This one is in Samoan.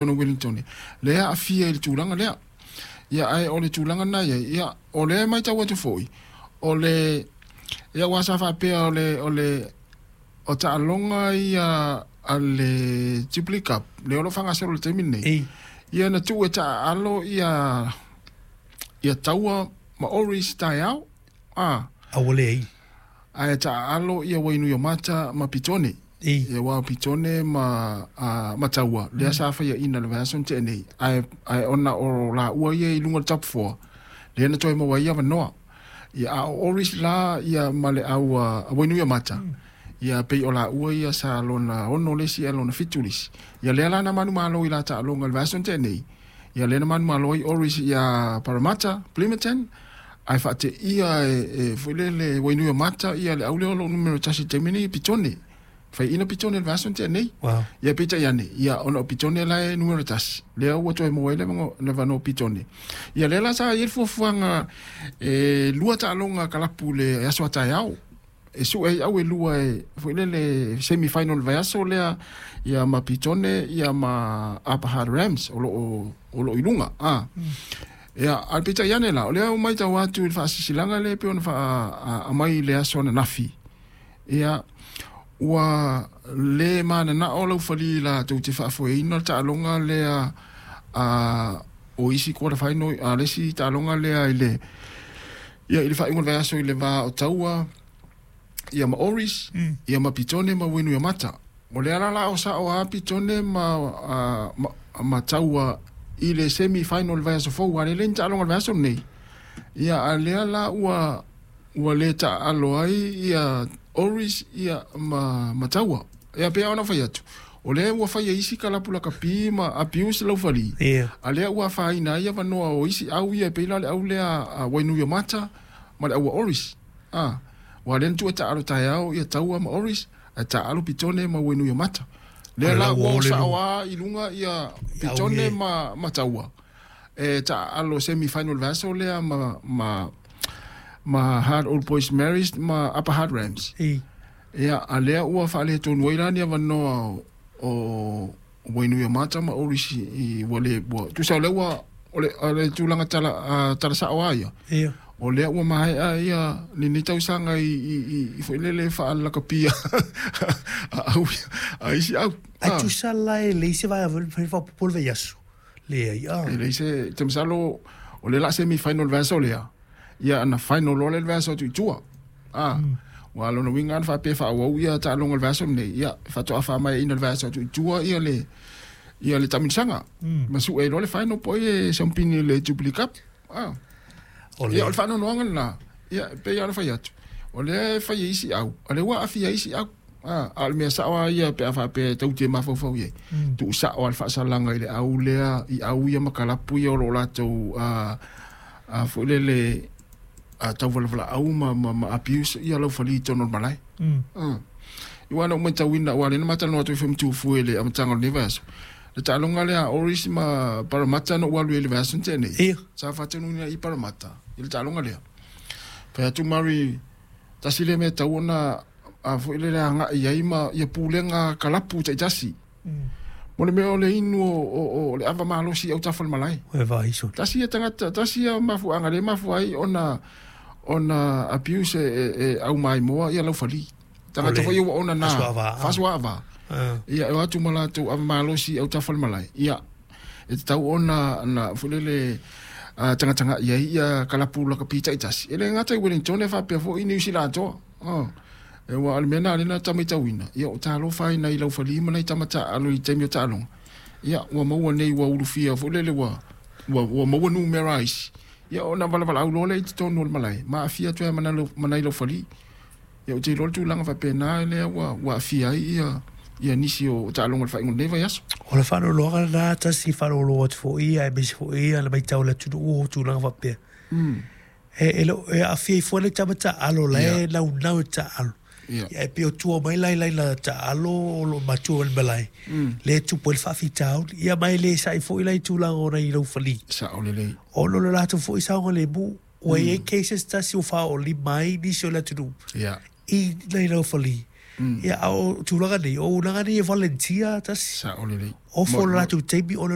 Tonu Wellington lea aafia i le tulaga lea. Ia ae o le tulaga na i ai, ia o lea e matau atu foi, o le ia aua sa faapea o le o le o taaloga ia a le Jubilee Cup lea o lo o faagasolo i le taimi lenei. Ia na tuu e taaalo ia ia Taua ma Oris taeao, a. A ua leai. Ae taaalo ia Wainuiomata ma Pitone. Ia aua o Pitone ma ma Taua lea sa faiaina i le vaiaso na tea nei, ae ae ona o laua ia i luga o le top four, lea na toe maua ai avanoa. Ia a o Oris la ia ma le au a Wainuiomata, ia pei o laua ia sa lona 6 le isi ae lona 7 le isi. Ia lea la na manumalo i la taaloga i le vaiaso na tea nei, ia lea na manumalo ai Oris ia Parramatta, Plimmerton, ae faateia e foi lele Wainuiomata ia le au lea o lo o numera 1 i le taimi nei, Pitone. Faiaina Pitone i le vaiaso na tea nei. Wow. Ia peitai ane, ia ona o Pitone la e numera 1, lea ua toe maua ai le avanoa o Pitone. Ia lea la sa i ai le fuafuaga e 2 taaloga kalapu i le aso a taeao. E sue ai au e 2 e foi lele semi final i le vaiaso lea ia ma Pitone ia ma Upper Hutt Rams o lo o i luga. A. Ia, ae peitai ane la, o lea ua matau atu i le faasisilaga lea e pei ona aumai i le aso ananafi. Ia, ua le mananao laufali latou te faafoeina le taaloga lea a o isi quarter final, a le isi taaloga lea i le ia i le faaiuga o le vaiaso i le va o Taua ia ma Oris, ia ma Pitone ma Wainuiomata. O lea la la o sao a Pitone ma Taua i le semi final le vaiaso fou, a le le ni taaloga le vaiaso lenei. Ia a lea la ua le taaalo ai ia Oris ia ma Taua. Ia pei ona fai atu, o lea ua fai e isi kalapu lakapi ma abuse laufali. A lea ua afaina ai avanoa o isi au ia e pei la o le au lea a Wainuiomata ma le au a Oris. A, ua lea na tuu e taaalo taeao ia Taua ma Oris, ae taaalo Pitone ma Wainuiomata. Lea la ua o sao a i luga ia Pitone ma Taua. E taaalo semi final le vaiaso lea ma Hard Old Boys Marys ma Upper Hutt Rams. Ia, a lea ua faaletonu ai la ni avanoa o Wainuiomata ma Oris i ua le ua tusa o lea ua o le tulaga tala sao a ia. O lea ua maea ia lenei tausaga i foi lele faalakapia a au a isi au. Ai tusa la e leai se vaega foi faaopoopo le vaiaso. Leai a. E leai se te masalo o le la semi final le vaiaso lea. Ia ana final loa lea le vaiaso atu i tua. A. Ua lona uiga ana faapea faaauau ia taaloga o le vaiaso lenei, ia faatoa faamaeaina le vaiaso atu i tua ia le ia le taamilosaga. Ma sue ai loa le final po o ai e siamupini i le Jubilee Cup. A. Ia o le faanoanoaga lena. Ia e pei lava ona fai atu, o lea e fai e isi au, a o lea ua aafia ai isi au. A o le mea sao lava ia pe a faapea e tau te mafaufau i ai, tuu sao lava le faasalaga i le au lea, i au ia ma kalapu ia o lo o latou foi lele tauvalavalaau ma abuse ia laufali i totonu o le malae. Aua na ou matauina, aua o lea na ma talanoa atu ai foi ma Tufue i le amataga o lenei vaiaso, le taaloga lea a Oris ma Parramatta na ou alu ai i le vaiaso na tea nei, sa faatonuina i Parramatta i le taaloga lea. Fai atu Murray, tasi lea mea e tatau ona foi lele agai ai ma ia pulega kalapu taitasi. Mo le mea o le inu o le ava malosi i autafa o le malae. Tasi ia tagata, tasi ia mafuaaga lea e mafua ai ona abuse e au maimoa ia laufali. Tagata foi ia ua ona na faasuaava. Ia e o atu ma latou ava malosi i autafa o le malae. Ia e tatau ona na foi lele tagatagai ai ia kalapu lakapi taitasi. E le gata i Wellington e faapea foi i Niu Sila atoa. E ua o le mea lena lea na ta matauina, ia o talofa ai nai laufali ma nai tama taaalo i taimi o taaloga. Ia ua maua nei ua ulufia foi lele ua maua numera isi. Ia ona valavalao loa lea i totonu o le malae, ma aafia atu ai ma nai laufali. Ia ou te iloa le tulaga faapena lea ua aafia ai ia nisi o taaloga o le faaiuga o lenei vaiaso. O le faanoanoaga lena, tasi faalogologo atu foi aemaise foi le matau a le atunuu o tulaga faapea. E le o e aafia ifo ai le tama taaalo la e naunau e taaalo. Ia e pei o tua mai la i laila taaalo o lo o matua mai le malae, lea e tupu ai le faafitauli. Ia ma e le sa'i foi la i tulaga o nai laufali. Sao lelei. Ona o le latou foi saogalemu. Ua i ai cases tasi ua faaoolima ai nisi o le atunuu i nai laufali. Ia a o tulaga nei, o auaunaga nei e volunteer tasi. Sao lelei. Ofo le latou taimi ona